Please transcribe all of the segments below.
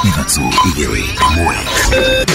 3 2 1.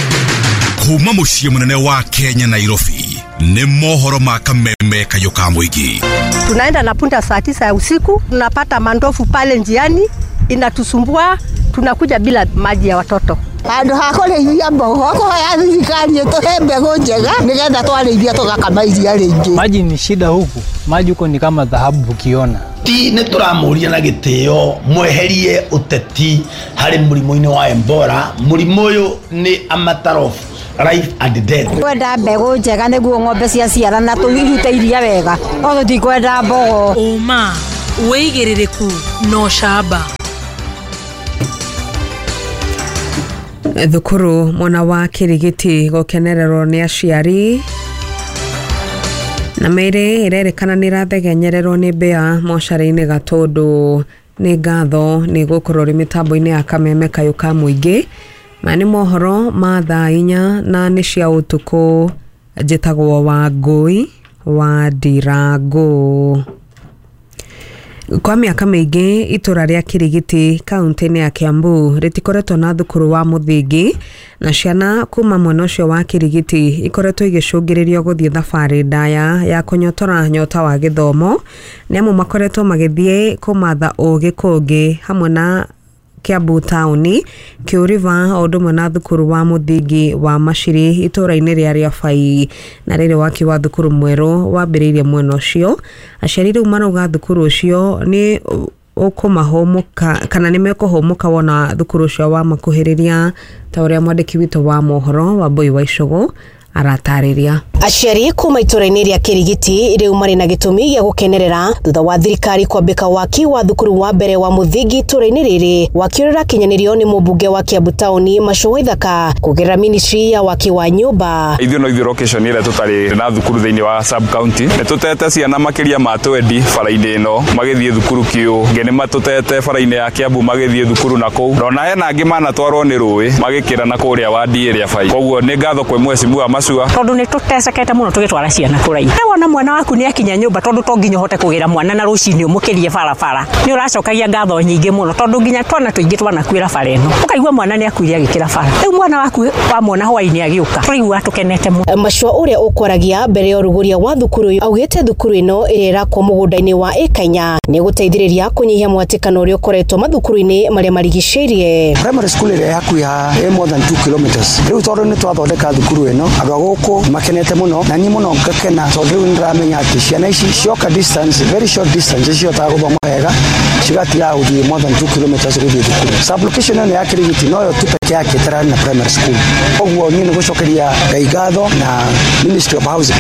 Kuma muciĩ mũnene wa Kenya, Nairobi, nĩ mohoro ma Kameme Kayũ ka Mũingĩ. Tunaenda na punda saa 9 ya usiku, tunapata mandofu pale njiani, inatusumbua, tunakuja bila maji ya watoto. Handũ ha kũrĩithia mbogo kũhoya thirikari ĩtũhe mbegũ njega nĩgetha twarĩithia tũgakama iria rĩingĩ. Maji ni shida huku, maji huko ni kama dhahabu ukiona. Ti nĩ tũramũria na gĩtĩo mweherie ũteti harĩ mũrimũ-inĩ wa Ebola. Mũrimũ ũyũ nĩ a matter of life and death. Kwenda mbegũ njega nĩguo ng'ombe ciaciarana tũirute iria wega, no tũtikwenda mbogo. Ũma, wĩigĩrĩrĩku na ũcamba. Thukuru mwena wa Kirigiti gũkenererwo nĩ aciari na mĩĩrĩ ĩrerĩkana nĩ ĩrathegenyererwo nĩ mbĩa mocarĩ-inĩ Gatũndũ. Nĩ ngatho nĩ gũkorwo rĩ mĩtambo-inĩ ya Kameme Kayũ ka Mũingĩ. Maya nĩ mohoro ma thaa 4 na nĩ cia ũtukũ. Njĩtagwo Wangũi wa Ndirangũ. Kwa mĩaka mĩingĩ itũra rĩa Kirigiti kaunti-inĩ ya Kiambu rĩtikoretwo na thukuru wa mũthingi, na ciana kuma mwena ũcio wa Kirigiti ikoretwo igĩcũngĩrĩrio gũthiĩ thabarĩ ndaya ya kũnyotora nyota wa gĩthomo, nĩamu makoretwo magĩthiĩ kũmatha ũgĩ kũngĩ hamwe na Kiambu taũni, Kiu River, o ũndũ ũmwe na thukuru wa mũthingi wa Maciri itũra-inĩ rĩa Rĩabai. Na rĩrĩ waki wa thukuru mwerũ wambĩrĩirie mwena ũcio, aciari rĩu marauga thukuru ũcio nĩ ũkũmahũmũka kana nĩ mekũhũmũka wona thukuru ũcio wamakuhĩrĩria, ta ũrĩa mwandĩki witũ wa mohoro Wambui wa Icũgũ aratarĩria. Aciari kuma itũra-inĩ rĩa Kirigiti rĩu marĩ na gĩtũmi gĩa gũkenerera thutha wa thirikari kwambĩka waki wa thukuru wa mbere wa mũthingi itũra-inĩ rĩrĩ. Waki ũrĩa ũrakinyanĩrio nĩ mũmbunge wa Kiambu taũni Macu Waithaka kũgerera ministry ya waki wa nyũmba. Ithuĩ no ithuĩ location ĩrĩa tũtarĩ na thukuru thĩinĩ wa sub county, nĩ tũtete ciana makĩria ma 20 bara-inĩ ĩno magĩthiĩ thukuru Kiu, ngĩ nĩ matũtete bara-inĩ ya Kiambu magĩthiĩ thukuru na kũu, na ona hena angĩ manatwarwo nĩ rũĩ magĩkĩra na kũrĩa wadi ĩrĩa bai. Koguo nĩ ngatho kwĩ mheshimiwa Macua tondũ nĩ tũtecekete mũno tũgĩtwara ciana kũraihu. Wona mwana waku nĩ akinya nyũmba, tondũ to nginya ũhote kũgĩra mwana na rũcinĩ ũmũkĩrie barabara, nĩ ũracokagia ngatho nyingĩ mũno tondũ nginya twana tũingĩ twanakuĩra bara ĩno, ũkaigua mwana nĩ akuire agĩkĩra bara. Rĩu mwana waku wamwona hwainĩ agĩũka, tũraigua tũkenete mũno. Macua ũrĩa ũkwaragia mbere ya ũrugũria wa thukuru ũyũ augĩte thukuru ĩno ĩrĩa ĩrakwo mũgũnda-inĩ wa ĩka 4 nĩ gũteithĩrĩria kũnyihia mwatĩkano ũrĩa ũkoretwo mathukuru-inĩ marĩa marigicĩirie. Primary school ĩrĩa hakuhĩ haha ĩ more than 2 kilometers. Rĩu tondũ nĩ twathondeka thukuru ĩno, andũ a gũkũ makenete mũno na niĩ mũno ngakena tondũ rĩu nĩndĩramenya atĩ ciana ici cioka distance, very short distance, cihotaga gũthoma wega, cigatigaga gũthiĩ more than 2 kilometers gũthiĩ thukuru. Sub-location ĩno ya Kirigiti noyo tu peke yake ĩtararĩ na primary school. Koguo niĩ nĩ gũcokeria Ngai ngatho na Ministry of Housing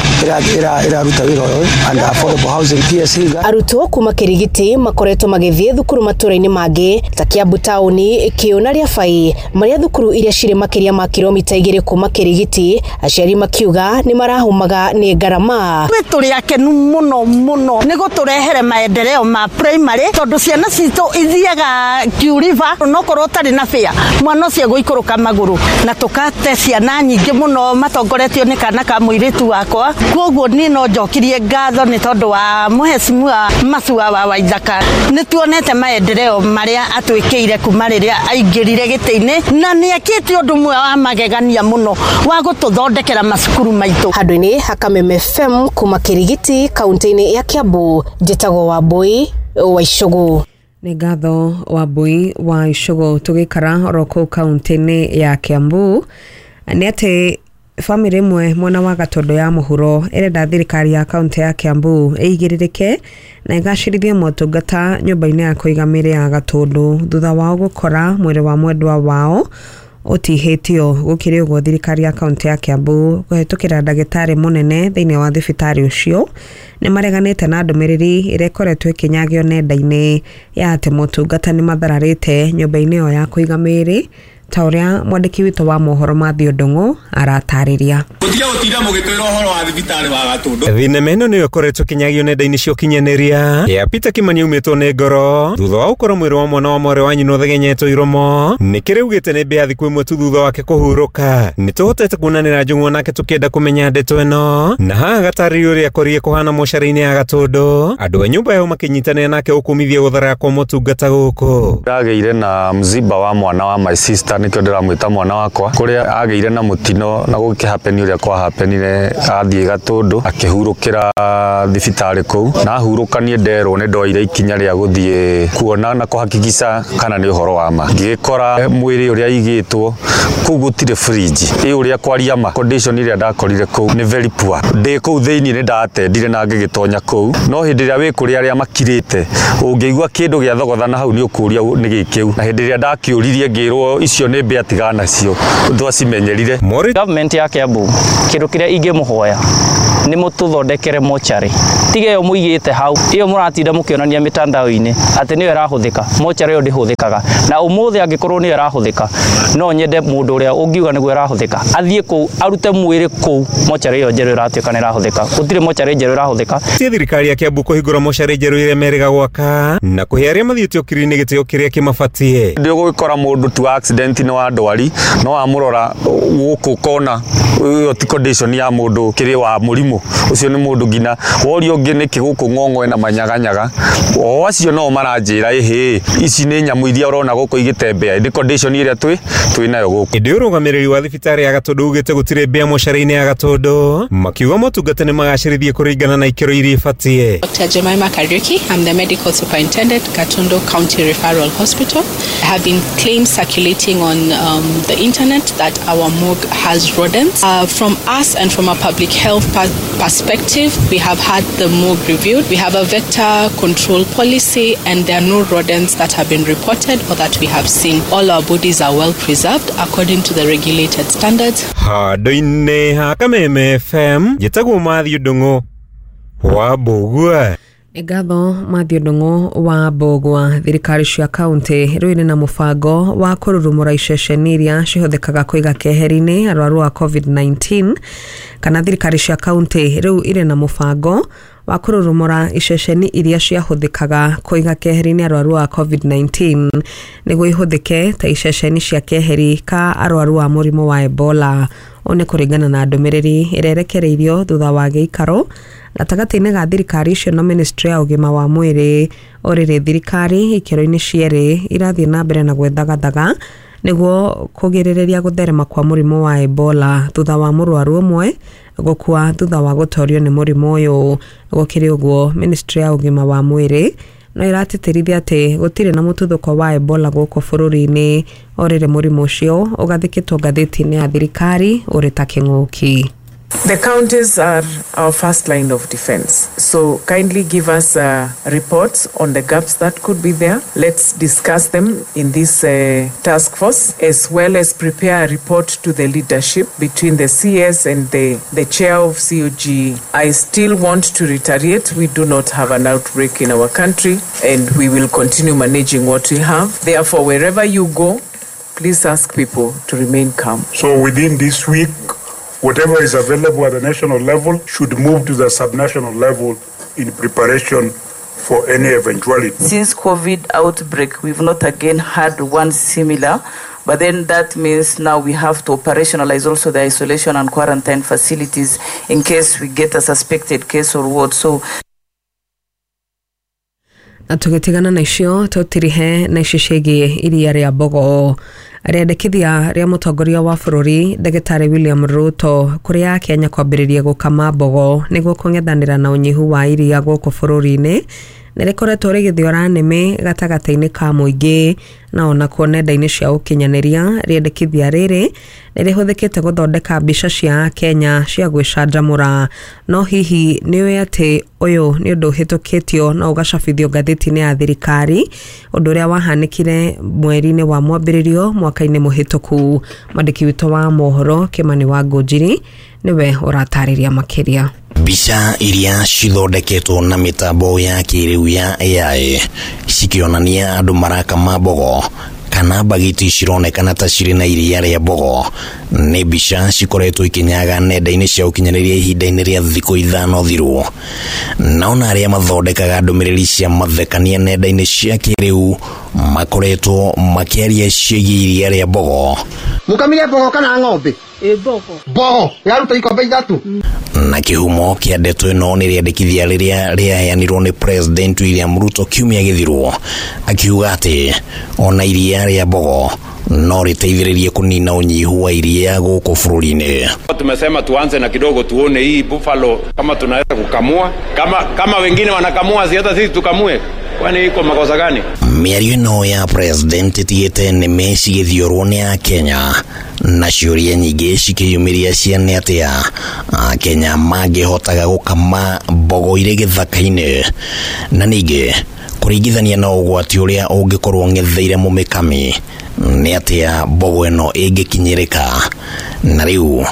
ĩraruta wĩra ũyũ and affordable housing PS Higa. Arutwo kuma Kirigiti makoretwo magĩthiĩ thukuru matũra-inĩ mangĩ ta Kiambu taũni, Kiu na Rĩabai, marĩa thukuru iria cirĩ makĩria ma kilomita 2 kuma Kirigiti, aciari makiuga nĩ marahumaga nĩ ngarama. Twĩ tũrĩ akenu mũno mũno nĩ gũtũrehere maendeleo ma primary tondũ ciana citũ ithiaga Kiu River, onokorwo ũtarĩ na fare mwana ũcio egũikũrũka magũrũ, na tũkate ciana nyingĩ mũno matongoretio nĩ kana ka mũirĩtu wakwa. Koguo niĩ no njokirie ngatho nĩ tondũ wa mheshimiwa Macua wa Waithaka, nĩ tuonete maendeleo marĩa atwĩkĩire kuma rĩrĩa aingĩrire gĩtĩ-inĩ, na nĩ ekĩte ũndũ ũmwe wa magegania mũno wa gũtũthondekera macukuru maitũ. Handũ-inĩ ha Kameme FM kuma Kirigiti kaunti-inĩ ya Kiambu, njĩtagwo Wambui wa Icũgũ. Nĩ ngatho Wambui wa Icũgũ. Tũgĩikara oro kũu kaunti-inĩ ya Kiambu, nĩ atĩ bamĩrĩ ĩmwe mwena wa Gatũndũ ya mũhuro ĩrenda thirikari ya kaunti ya Kiambu ĩigĩrĩrĩke na ĩgacĩrithie motungata nyũmba-inĩ ya kũiga mĩĩrĩ ya Gatũndũ thutha wao gũkora mwĩrĩ wa mwendwa wao ũtihĩtio. Gũkĩrĩ ũguo, thirikari ya kaunti ya Kiambu kũhetũkĩra ndagĩtarĩ mũnene thĩinĩ wa thibitarĩ ũcio nĩ mareganĩte na ndũmĩrĩri ĩrĩa ĩkoretwo ĩkĩnyagio nenda-inĩ ya atĩ motungata nĩ mathararĩte nyũmba-inĩ ĩyo ya kũiga mĩĩrĩ, ta ũrĩa mwandĩki witũ wa mohoro Mathew Ndung'u aratarĩria. Mũtige gũtinda mũgĩtwĩra ũhoro wa thibitarĩ wa Gatũndũ. Thinema ĩno nĩyo ĩkoretwo ĩkĩnyagio nenda-inĩ cia ũkinyanĩria ya Peter Kimani aumĩtwo nĩ ngoro thutha wa gũkorwo mwĩrĩ wa mwana wa mwarĩ wa nyina ũthegenyetwo iromo. Nĩ kĩrĩ ugĩte nĩ mbĩa thikũ ĩmwe tu thutha wake kũhurũka. Nĩ tũhotete kuonanĩra Njũng'wa nake tũkĩenda kũmenya ndeto ĩno, na haha gatarĩrio ũrĩa akorire kũhana mocarĩ-inĩ ya Gatũndũ, andũ a nyũmba yao makĩnyitanĩra nake gũkũmithia gũtharara kwa motungata gũkũ. Ndagĩire na mziba wa mwana wa my sister Nĩkĩo ndĩramwĩta mwana wakwa, kũrĩa agĩire na mũtino na gũkĩhapeni ũrĩa kwahapenire, athiĩ Gatũndũ akĩhurũkĩra thibitarĩ kũu, na ahurũka niĩ nderwo nĩ ndoire ikinya rĩa gũthiĩ kuona na kũhakikisha kana nĩ ũhoro wa ma. Ngĩgĩkora mwĩrĩ ũrĩa aigĩtwo kũu gũtirĩ fridge, ĩ ũrĩa kwaria ma condition ĩrĩa ndakorire kũu nĩ very poor. Ndĩ kũu thĩinĩ nĩ ndatendire na ngĩgĩtonya kũu, no hĩndĩ ĩrĩa wĩ kũrĩa arĩa makirĩte ũngĩigua kĩndũ gĩa thogothana hau nĩ ũkũria nĩ gĩkĩu, na hĩndĩ ĩrĩa ndakĩũririe ngĩrwo icio nĩ mbĩa tigana nacio twacimenyerire. Government ya Kiambu kĩndũ kĩrĩa ingĩmũhoya nĩ mũtũthondekere mochari, tiga ĩyo mũigĩte hau, ĩyo mũratinda mũkĩonania mĩtandao-inĩ atĩ nĩyo ĩrahũthĩka. Mochari ĩyo ndĩhũthĩkaga, na ũmũthĩ angĩkorwo nĩyo ĩrahũthĩka, no nyende mũndũ ũrĩa ũngiuga nĩguo ĩrahũthĩka athiĩ kũu arute mwĩrĩ kũu mochari ĩyo njerũ ĩratuĩka nĩ ĩrahũthĩka. Gũtirĩ mochari njerũ ĩrahũthĩka. Ti thirikari ya Kiambu kũhingũra mochari njerũ ĩrĩa merĩga gwaka na kũhe arĩa mathiĩte ũkiri-inĩ gĩtĩo kĩrĩa kĩmabatie. Ndĩ ũgũgĩkora mũndũ tu accident nĩ wa ndwari, no amũrora gũkũ kona ĩyo ti condition ya mũndũ kĩrĩ wa mũrimũ ũcio, nĩ mũndũ nginya woria ũngĩ nĩkĩ gũkũ ng'ong'o ĩna manyaganyaga, o acio no maranjĩra ĩhĩ ici nĩ nyamũ iria ũrona gũkũ igĩtembea, ĩndĩ condition ĩrĩa twĩ nayo gũkũ. Ĩndĩ ũrũgamĩrĩri wa thibitarĩ ya Gatũndũ ugĩte gũtirĩ mbĩa mocarĩ-inĩ ya Gatũndũ, makiuga motungata nĩ magacĩrithie kũringana na ikĩro iria ibatie. Dr. Jemima Kariuki, I'm the medical superintendent, Gatundu County Referral Hospital. There have been claims circulating on the internet that our morgue has rodents. From us and from a public health perspective, we have had the morgue reviewed. We have a vector control policy and there are no rodents that have been reported or that we have seen. All our bodies are well preserved according to the regulated standards. Handũ-inĩ ha Kameme FM, njĩtagwo Matthew Ndung'u wa Mbũgua. Nĩ ngatho Matthew Ndung'u wa Mbũgua. Thirikari cia kaunti rĩu irĩ na mũbango wa kũrurumũra iceceni iria cihũthĩkaga kũiga keheri-inĩ arwaru a COVID-19, kana thirikari cia kaunti rĩu irĩ na mũbango wa kũrurumũra iceceni iria ciahũthĩkaga kũiga keheri-inĩ arwaru a COVID-19 nĩguo ihũthĩke ta iceceni cia keheri ka arwaru a mũrimũ wa Ebola. Ũũ nĩ kũringana na ndũmĩrĩri ĩrĩa ĩrekereirio thutha wa gĩikaro gatagatĩ-inĩ ga thirikari icio na ministry ya ũgima wa mwĩrĩ. Orĩrĩ thirikari ikĩro-inĩ cierĩ irathiĩ na mbere na gwĩthagathaga nĩguo kũgirĩrĩria gũtherema kwa mũrimũ wa Ebola thutha wa mũrwaru ũmwe gũkua thutha wa gũtorio nĩ mũrimũ ũyũ. Gũkĩrĩ ũguo, ministry ya ũgima wa mwĩrĩ no ĩratĩtĩrithia atĩ gũtirĩ na mũtuthũko wa Ebola gũkũ bũrũri-inĩ. Orĩrĩ mũrimũ ũcio ũgathĩkĩtwo ngathĩti-inĩ ya thirikari ũrĩ ta kĩng'ũki. The counties are our first line of defense. So kindly give us reports on the gaps that could be there. Let's discuss them in this task force, as well as prepare a report to the leadership between the CS and the chair of COG. I still want to reiterate, we do not have an outbreak in our country and we will continue managing what we have. Therefore, wherever you go, please ask people to remain calm. So within this week, whatever is available at the national level should move to the subnational level in preparation for any eventuality. Since COVID outbreak, we've not again had one similar, but then that means now we have to operationalize also the isolation and quarantine facilities in case we get a suspected case or what. So na tũgĩtigana na icio tũtirihe na icio ciĩgiĩ iria rĩa Mbogo. Rĩendekithia rĩa mũtongoria wa bũrũri ndagĩtarĩ William Ruto kũrĩ Akenya kwambĩrĩria gũkama mbogo nĩguo kũng'ethanĩra na ũnyihu wa iria gũkũ bũrũri-inĩ nĩ rĩkoretwo rĩgĩthiora nĩmĩ gatagatĩ-inĩ ka mũingĩ na onakuo nenda-inĩ cia ũkinyanĩria. Rĩendekithia rĩrĩ nĩ rĩhũthĩkĩte gũthondeka mbica cia Akenya cia gwĩcanjamũra. No hihi nĩ ũĩ atĩ ũyũ nĩ ũndũ ũhĩtũkĩtio na ũgacabithio ngathĩti-inĩ ya thirikari, ũndũ ũrĩa wahanĩkire mweri-inĩ wa mwambĩrĩrio mwaka-inĩ mũhĩtũku? Mwandĩki witũ wa mohoro Kĩmani wa Ngũnjiri nĩwe ũratarĩria makĩria. Mbica iria cithondeketwo na mĩtambo ya kĩrĩu ya AI cikĩonania andũ marakama mbogo kana mbagiti cironekana ta cirĩ na iria rĩa mbogo nĩ mbica cikoretwo ikinyaga nenda-inĩ cia ũkinyanĩria ihinda-inĩ rĩa thikũ 5 thiru. Naona arĩa mathondekaga ndũmĩrĩri cia mathekania nenda-inĩ cia kĩrĩu makoretwo makĩaria ciĩgiĩ iria rĩa mbogo. Mũkamire mbogo kana ng'ombe? Mbogo. Mbogo yaruta ikombe 3. Na kĩhumo kĩa ndeto ĩno nĩ rĩendekithia rĩrĩa rĩaheanirwo nĩ President William Ruto kiumia gĩthiru, akiuga atĩ ona iria rĩa mbogo No rĩteithĩrĩrie kũnina ũnyihu wa iria gũkũ bũrũri-inĩ. Tumesema tuanze na kidogo tuone hii buffalo kama tunaweza kukamua, kama wengine wanakamua, si hata sisi tukamue? Kwani iko makosa gani? Mĩario ĩno ya president ĩtigĩte nĩme cigĩthiorwo nĩ Akenya na ciũria nyingĩ cikĩyumĩria cia nĩ atĩa Akenya mangĩhotaga gũkama mbogo irĩ gĩthaka-inĩ, na ningĩ kũringithania na ũgwati ũrĩa ũngĩkorwo ng'etheire mũmĩkami nĩ atĩa mbogo ĩno ĩngĩkinyĩrĩka. Na rĩu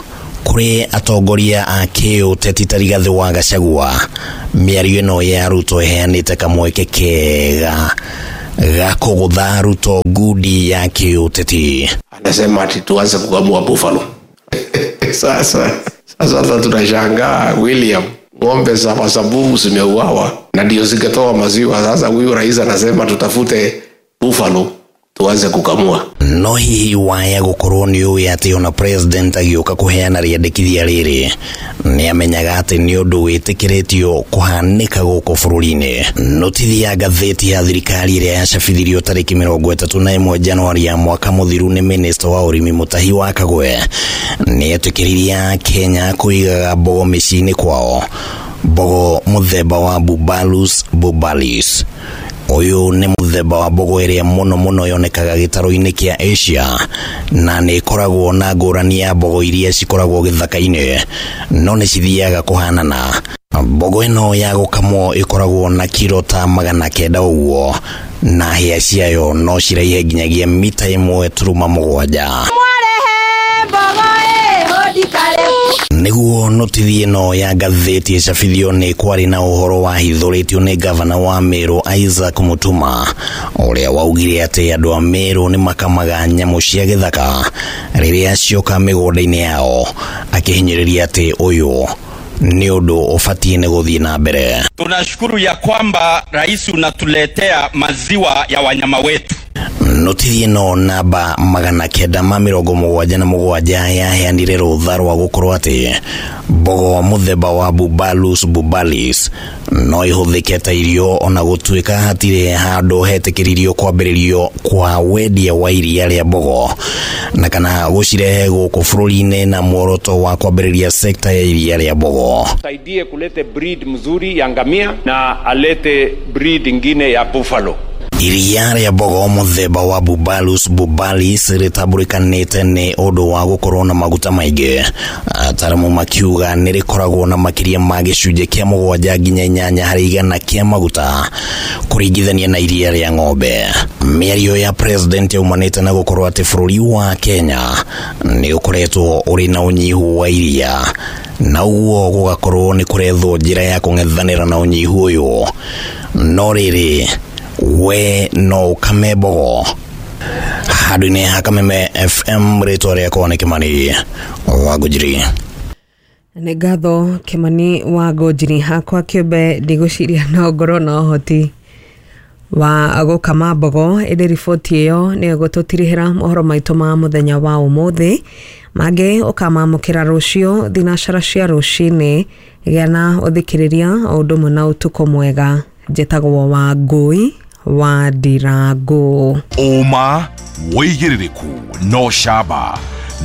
kũrĩ atongoria a kĩũteti ta Rigathĩ wa Gachagua, mĩario ĩno ya Ruto ĩheanĩte kamweke kega ga kũgũtha Ruto ngundi ya kĩũteti. Anasema ati tuanze kukamua buffalo. Sasa tunashangaa William, ng'ombe za Masabubu zimeuawa na ndio zingetoa maziwa. Sasa huyu rais anasema tutafute buffalo tuanze kukamua. No hihi waya gũkorwo nĩ ũĩ atĩ ona president agĩũka kũheana rĩandĩkithia rĩrĩ nĩ amenyaga atĩ nĩ ũndũ wĩtĩkĩrĩtio kũhanĩka gũkũ bũrũri-inĩ. Notithi ya ngathĩti ya thirikari ĩrĩa yacabithirio tarĩki 31 Januari ya mwaka mũthiru nĩ minista wa ũrĩmi Mutahi wa Kagwe nĩ etĩkĩririe Kenya kũigaga mbogo mĩciĩ-inĩ kwao, mbogo mũthemba wa Bubalus bubalis. Ũyũ nĩ mũthemba wa mbogo ĩrĩa mũno mũno yonekaga gĩtarũ-inĩ kĩa Asia na nĩ ĩkoragwo na ngũrani ya mbogo iria cikoragwo gĩthaka-inĩ, no nĩ cithiaga kũhanana. Mbogo ĩno ya gũkamwo ĩkoragwo na kiro ta 900 ũguo na hĩa ciayo no ciraihe nginyagia mita 1.7. Nĩguo notithi ĩno ya ngathĩti ĩcabithio nĩ kwarĩ na ũhoro wahithũrĩtio nĩ gavana wa Meru Isaac Mutuma ũrĩa waugire atĩ andũ a Meru nĩ makamaga nyamũ cia gĩthaka rĩrĩa cioka mĩgũnda-inĩ yao, akĩhinyĩrĩria atĩ ũyũ nĩ ũndũ ũbatiĩ nĩ gũthiĩ na mbere. Tunashukuru ya kwamba rais unatuletea maziwa ya wanyama wetu. Notithi ĩno namba 977 yaheanire rũtha rwa gũkorwo atĩ mbogo mũthemba wa Bubalus bubalis no ĩhũthĩke ta irio ona gũtuĩka hatirĩ handũ hetĩkĩririo kwambĩrĩrio kwa wendia wa iria rĩa mbogo na kana gũcirehe gũkũ bũrũri-inĩ na muoroto wa kwambĩrĩria sekta ya iria rĩa mbogo. Saidie kulete breed mzuri ya ngamia na alete breed ingine ya buffalo. Iria rĩa mbogo mũthemba wa Bubalus bubalis rĩtambũrĩkanĩte nĩ ũndũ wa gũkorwo na maguta maingĩ. Ataaramu makiuga nĩ rĩkoragwo na makĩria ma gĩcunjĩ kĩa 7 nginya 8 harĩ igana kĩa maguta kũringithania na iria rĩa ng'ombe. Mĩario ya president yaumanĩte na gũkorwo atĩ bũrũri wa Kenya nĩ ũkoretwo ũrĩ na ũnyihu wa iria na ũguo gũgakorwo nĩ kũrethwo njĩra ya kũng'ethanĩra na ũnyihu ũyũ. No rĩrĩ, we no ũkame mbogo. Handũ-inĩ ha Kameme FM, rĩtwa rĩakwa nĩ Kĩmani wa Ngũnjiri. Nĩ ngatho Kĩmani wa Ngũnjiri. Hakwa kĩũmbe ndigũciria no ngorwo na ũhoti wa gũkama mbogo, ĩndĩ riboti ĩyo nĩyo ĩgũtũtirihĩra mohoro maitũ ma mũthenya wa ũmũthĩ. Mangĩ ũkamamũkĩra rũciũ thinacara cia rũcinĩ. Gĩa na ũthikĩrĩria o ũndũ ũmwe na ũtukũ mwega. Njĩtagwo Wangũi wa Ndirango. Ũma wĩigĩrĩrĩku no camba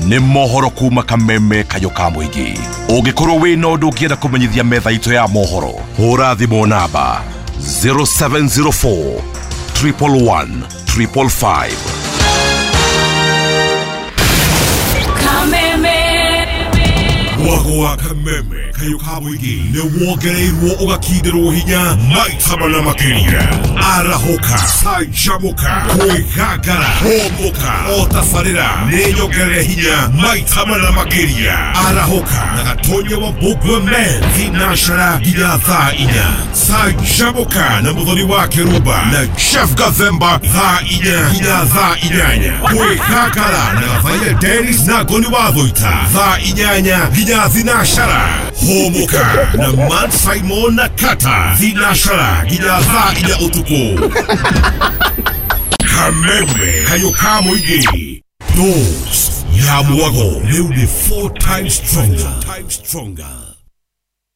nĩ mohoro kuma Kameme kayũ ka mũingĩ. Ũngĩkorwo wĩna ũndũ ũngĩenda kũmenyithia metha itũ ya mohoro, hũra thimũ namba 0704 111 555. Kameme. Mwago wa Kameme kayũ ka mũingĩ nĩ wongereirwo ũgakindĩrwo hinya maita mana makĩria. Arahũka, canjamũka, kwĩgangara, hũmũka, o tabarĩra nĩ nyongerere hinya maita mana makĩria. Arahũka na Gatonya wa Mbũgua Men thinacara nginya thaa 4. Canjamũka na Mũthoni wa Kĩrumba na Jeff Gathemba thaa 4 nginya thaa 8. Kwĩgangara na Gathaiya Dennis na Ngoni wa Thũita thaa 8 nginya thinacara. Hũmũka na Matt Simon na Kata thinacara nginya thaa 4 ũtukũ. Kameme kayũ ka mũingĩ. Dose ya mwago rĩu nĩ 4 times stronger.